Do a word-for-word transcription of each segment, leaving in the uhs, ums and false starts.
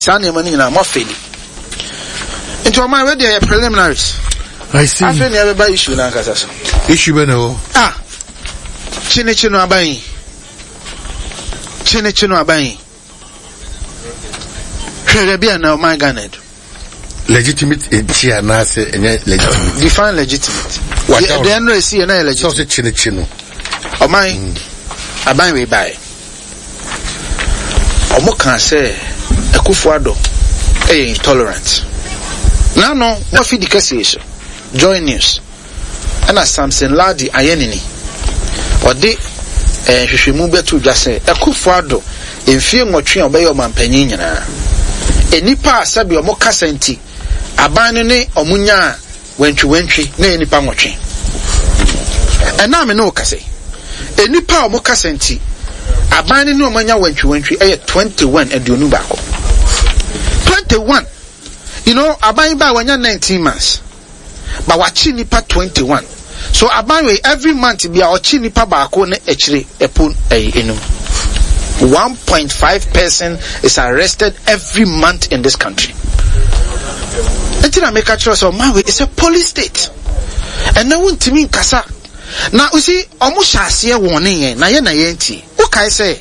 Saa nneɛma no nyinaa moafeli. Nti ɔman wei deɛ yɛ preliminaries. I see. Afei nea ɛbɛba issue no ankasa so. Issue bɛ na ɛwɔ. Ah, kyenekye no aban yi. Kyenekye no aban yi. Hwɛ baabi a na ɔman Ghana adu. Legitimate nti anaasɛ ɛnyɛ legitimate. Define legitimate. Deɛ ɛno esi yɛ na yɛ legitimate. Sɛ ɔsɛ kyenekye no. Ɔman mm. Aban wei baeɛ. Ɔmo kaa sɛ Akufo Addo ɛyɛ intolerant. N'ano wafidi kɛseɛ so Joy News ɛna Samson Lardy Ayenini ɔde eh, nhwehwɛmu bɛto dwa sɛ Akufo Addo mfie nwɔtwe a ɔbɛyɛ ɔmanpanyin nyinaa, nnipa a sɛbi ɔmo kasa nti aban no ne ɔmo nyaa wantwiwantwi na ɛyɛ nnipa nwɔtwe. Ɛna me ne wo kasa yi, nnipa a ɔmo kasa nti aban no ne ɔmo anya wantwiwantwi ɛyɛ twenty one, aduonu baako. twenty one. You know, aban ba wanya nineteen months. But wakye nipa twenty one. So aban wei every month bi a ɔkye nipa baako ne akyire ɛpo ɛyɛ enum. one point five person is arrested every month in this country. Nti na meka kyerɛ sɛ ɔman wei is a police state. Ɛnɛ wontumi nkasa. Na you see, ɔmo hyɛ aseɛ wɔn ne yɛn na yɛn na yɛn ti. Wokae sɛ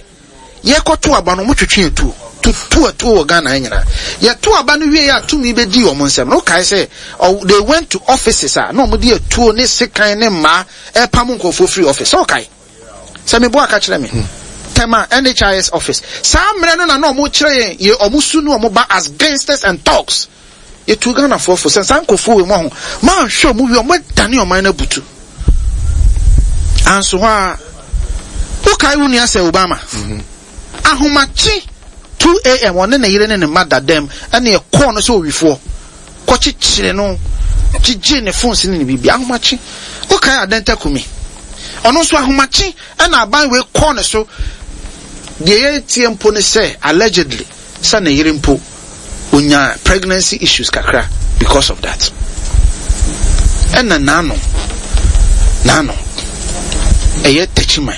yɛkɔto aba no, ɔmo twetwe atuo. Tutu atuo wɔ Ghana nyinaa. Yɛto aba no wie a tumi bɛdi ɔmo nsɛm. Na wokae sɛ they went to offices a na ɔmo de atuo ne sekan ne mmaa ɛpam nkurɔfoɔ firi office. Sɛ wokae? Sɛ meboa aka kyerɛ me. Tema N H I S office. Saa mmerɛ no na na ɔmo kyerɛ yɛn yɛ ɔmo su ne ɔmo ba as gangsters and thugs. Yɛtu Ghanafoɔ fo sɛ saa nkurɔfoɔ wei mu aho manhwɛ ɔmo wie ɔmo adane ɔman no abutu. Anso hɔ a wokae wo nua sɛ Obama. Mm-hmm. Ahomakye two A M ɔne ne yere ne ne mma da dɛm ɛne ɛkɔɔ no sɛ owifoɔ kɔkyekyere no gyegye ne phones ne ne biribi. Ahomakye wokae Adenta Kumi, ɔno nso ahomakye ɛna aban wei kɔɔ ne so. Deɛ yɛtie mpo ne sɛ allegedly sɛ ne yere mpo onya pregnancy issues kakra because of that. Ɛna naano naano ɛyɛ Techiman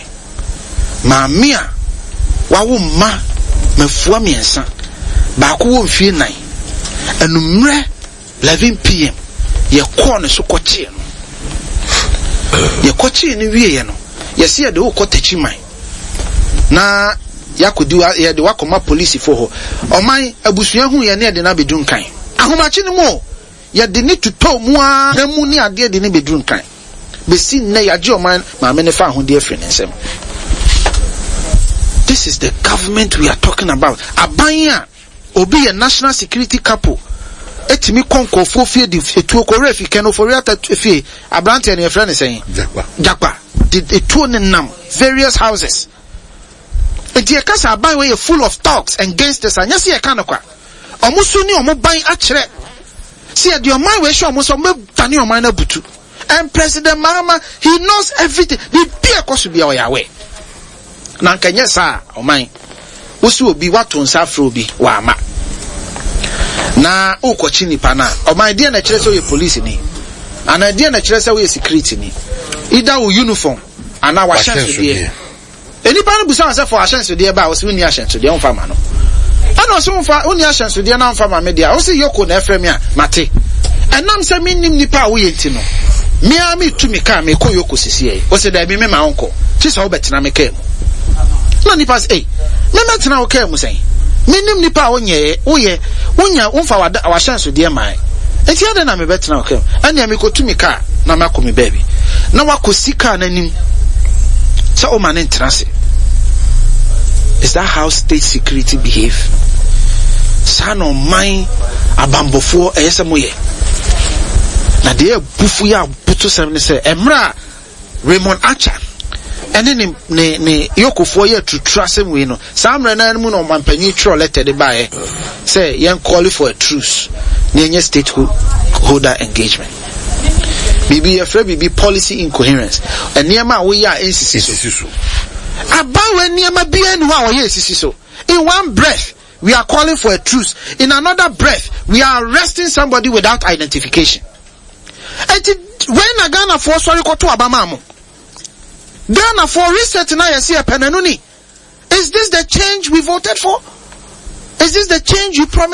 maame a wawo mma mafua mmiɛnsa, baako wɔ mfie nan, anummerɛ eleven P M yɛkɔɔ ne so kɔkyee no. Yɛkɔkyee no wieɛ no, yɛsi yɛde wokɔ Techiman na yɛakɔdi wa, yɛde wakɔma polisifoɔ hɔ. Ɔman abusua hu yɛn ne yɛde no abɛduru Nkan. Ahomakye no mu o, yɛde ne tutɔ mu ara na mu ne adeɛ de ne bɛduru Nkan. Bɛsi nnɛ yɛagye ɔman maame ne fa ahodeɛ afiri ne nsam. This is the government we are talking about. Aban a obi yɛ national security couple etimi kɔ nkurɔfoɔ fie de etuo kɔ owura fi Ken Ofori-Atta fie aberanteɛ no yɛfrɛ no sɛn? Jakpa. Jakpa. De etuo ne nam various houses. Nti yɛka sɛ aban wei yɛ full of thugs and gangsters a, nyɛ sɛ yɛka no kwa. Ɔmo so ne ɔmo ban akyerɛ sɛ yɛde ɔman wei hyɛ ɔmo sɛ ɔmo bɛdane ɔman no abutu. And President Mahama, he knows everything. Biribi a ɛkɔ so bia ɔyɛ aware. Na nka nyɛ saa ɔman wosi obi wato nsa afrɛ obi wama na wokɔkye nipa no a, ɔman deɛ na ɛkyerɛ sɛ woyɛ police ni anaa deɛ na ɛkyerɛ sɛ woyɛ security ni, either wo uniform anaa wahyɛnsodeɛ. Nipa no busa sɛ fɔ ahyɛnsodeɛ ba a, wɔsi wonni ahyɛnsodeɛ womfa ma no. Ɛna ɔsi womfa wonni ahyɛnsodeɛ na womfa ma me deɛ a, ɔsi yoko na ɛfrɛ me a mate. Ɛnam sɛ mennim nipa a woyɛ nti no, mea metu me kaa mekɔ yoko sisi yɛ. Ɔsi daabi me ma wonkɔ, kye sɛ wobɛtena me kaa mu. Na nipa sɛ, ei, me mɛtena wo kaa mu sɛn? Mennim nipa a wonyɛ, woyɛ, wonya, womfa w'ahyɛnsodeɛ mae. Nti adɛn na mebɛtena wo kaa mu? Ɛnea mekɔtu me kaa na makɔ me baabi. Na wakɔsi kaa n'anim sɛ woma ne ntena ase. Is that how state security behave? Saa na ɔman abambɔfoɔ ɛyɛ sɛ moyɛ. Na deɛ abufu yɛ abotosɛm ne sɛ mmerɛ a Raymond Archer ɛne ne ne ne yokofoɔ yɛ tuturu asɛm wei no, saa mmerɛ no mu na ɔmanpanyin twerɛ letter de baeɛ sɛ yɛn call for a truce na yɛnyɛ state holder engagement. Biribi yɛfrɛ biribi policy incoherence, nneɛma a woyɛ a ɛnsisi so. Aban wei nneɛma biara ni hɔ a wɔyɛ esisi so. In one breath we are calling for a truce, in another breath we are arresting somebody without identification. Enti wei na Ghanafoɔ sɔre kɔto aba maa mo. Ghanafoɔ reset na yɛsi ɛpɛ n'ano ni. Is this the change we voted for? Is this the change you promised?